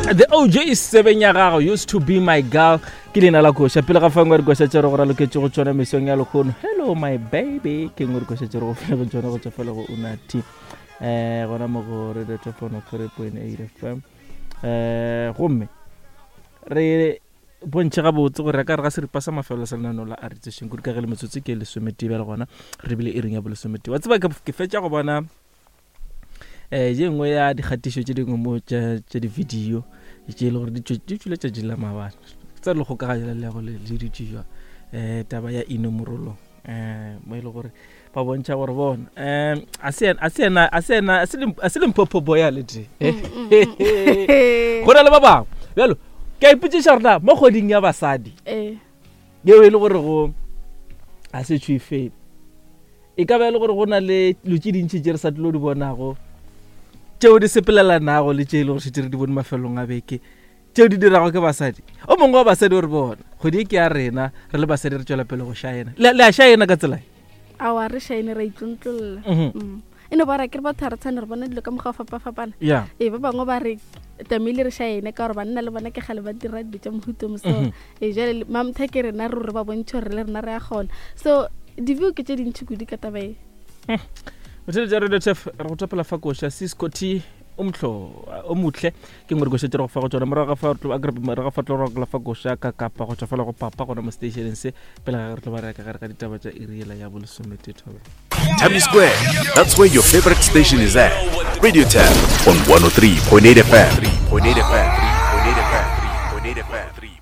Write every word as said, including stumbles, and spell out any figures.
The O J seven ya gago, "Used to Be My Girl" ke leina la koša. Pele ga fangwe dikoša tše re go raloketše go tšona mesong ya lekgono, "Hello My Baby" ke nngwe dikoša tše re go file go tšona go tšwa fela go Unati, um gona mo go Radio Telefono three point eight F M. um gomme re bontšhe gabotse gore ka re ga seripa sa mafelo sa lenaneo la aritšešeng kudu ka ge le metsotso ke lesometee bjale, gona re bile iring ya bolesometee. Wa tseba, ke ke fetša go bona um ye nngwe ya dikgatišo tše dingwe mo tša tša di-video tše e le gore di tšwe- di tšwile tšatši la maabane, tsa le kgokaganya le go le le dutše jwa um taba ya inomorolong, um mo e le gore ba bontšha gore bona um a se yena- a se yena- a se yena- a se Lim- a se Limpopo boy a le tee, go na le ba bangwe. Bjalo ke a ipotšiša gore na mo kgweding ya basadi ee yeo e le gore go a se tšhwe fele, e ka ba e le gore go na le dilo tše dintšhi tše re sa tlilo di bonago tšeo di sepelelanago le tše e le gore šetse re di bone mafelong a beke tšeo di dirago ke basadi. O mongwe wa basadi o re bona kgwedi e ke ya rena re le basadi, re tšwela pele go šaena. Le le a šaena ka tsela e? Awa, re shine, ra itlontlolla. Mhm. Mm. e no ba ra ke re batho ga re tshwane, re bona dilo ka mokgwa o fapa-fapana. Ya. Ee, ba bangwe ba re tamile re shine ka gore banna le bona ke gale ba dira dilo tša mohuto mo. So Mhm. ee, jale mamtha ke rena ruri ba bontšhe gore le rena re a kgona. So di-view ke tše dintšhi kudu ka taba e. Motheletša Radio Tef, re go topela fa koša Cisco T o motlho o motle ke ngwe dikoša tše re go fa go tsona. Morago ga fa re tlo- akere morago ga fa tlo rokola fa koša ka kapa go tswa fela go papa gona mo stationeng se, pele ga ge re tlo ba reka gare ga ditaba tša iriela ya bolesomete thobela. Tammy Square. That's where your favorite station is at. Radio Tab on one oh three point eight F M. three point eight F M. three point eight F M. three point eight F M.